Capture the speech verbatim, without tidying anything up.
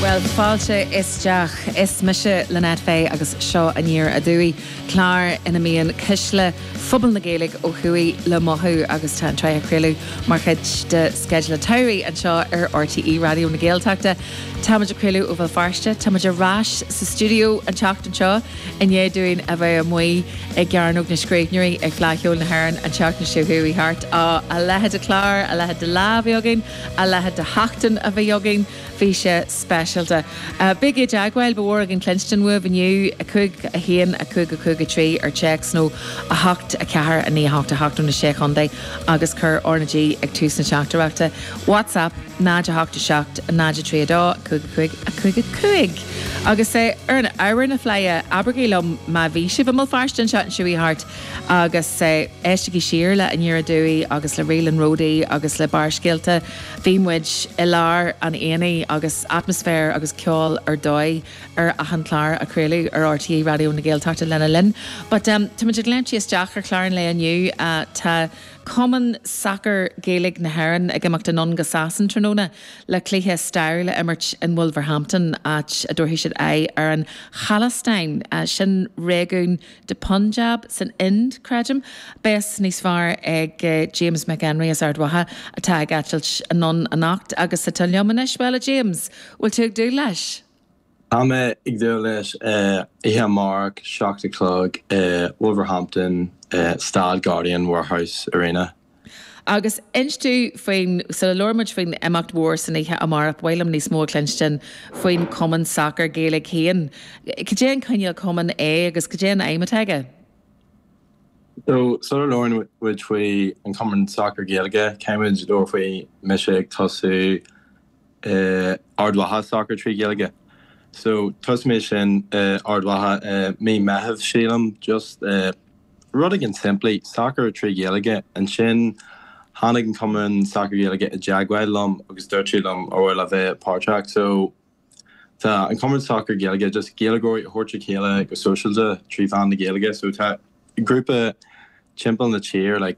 Well fáilte isteach is mise Lynette Fay agus seo Aniar Aduaidh clár ina mbíonn cuisle phobal na Gaeilge ó thuaidh le mothú agus tá an tsraith á craoladh mar chuid de sceideal an tsamhraidh anseo ar RTÉ Raidió na Gaeltachta. Táimid ag craoladh ó Bhéal Feirste, Táimid ar ais sa stiúideo an tseachtain seo i ndiaidh dúinn a bheith amuigh i gCearnóg na Scríbhneoirí ag Fleadh Cheoil na hÉireann an tseachtain seo chuaigh thart á a leithéid de chlár, a leithéid de lá a bhí againn, a leithéid de sheachtain a bhí againn, bhí sé speisialta. Uh, Bígí i dteagmháil ba mhór againn cluinstin uaibh inniu a cúig a haon a cúig a cúig a trí ar téacs nó a hocht a ceathair a naoi hocht a hocht na sé chontae agus cuir RnaG ag tús na teachtaireachta. WhatsApp náid a hocht a seacht náid a trí dó cúig cúig a cúig a cúig. Agus é ar an ábhar na Fleidhe abraigí liom má bhí sibh i mBéal Feirste an tseachtain seo thart agus éistigí siar le Aniar Aduaidh agus le Rélan Ródaí agus le Barrscéalta bhí muid i lár an aonaigh agus atmaisféar agus ceol ar dóigh ar achan chlár a craoladh ar RTÉ Raidió na Gaeltachta lena linn. But um, Tá muid ag léimt isteach ar chlár an lae inniu uh, tá Cumann Sacair Gaeilge na hÉireann ag imeacht anonn go Sasana tráthnóna le cluiche stairiúil a imirt in Wolverhampton áit a dtabharfaidh siad aghaidh ar an Khalistan uh, sin réigiún de Punjab san Ind creidim. Beidh níos fearr ag uh, James McHenry as Ard Mhacha atá ag eitilt anonn anocht agus atá liom anois well a James, bhfuil tú ag dúil leis? Tá mé ag dúil leis oíche amárach seacht a chlog Wolverhampton Staid Guardian Warehouse Arena. Agus inis dúinn faoin sula labhraímid faoin imeacht mhór san oíche amárach bhfuilim níos mó cluinstin faoin Cumann Sacair Gaeilge féin. Cad é an cineál cumann é agus cad é an aidhm atá aige? So sula labhraíonn muid faoi an Cumann Sacair Gaeilge, caithfimid labhairt faoi mise ag tosú Ard Mhacha Sacair trí Ghaeilge. So thosaigh mé sin Ard Mhacha mí Mheithimh sílim just rud éigin simplí sacar trí Ghaeilge ansin tháinig an Cumann Sacair Gaeilge i dteagmháil liom agus dúirt siad liom ar bhfuil a bheith páirteach so tá an Cumann Sacair Gaeilge just Gaeilgeoirí a thabhairt le chéile go sóisialta trí mheán na Gaeilge so tá grúpa timpeall na tíre like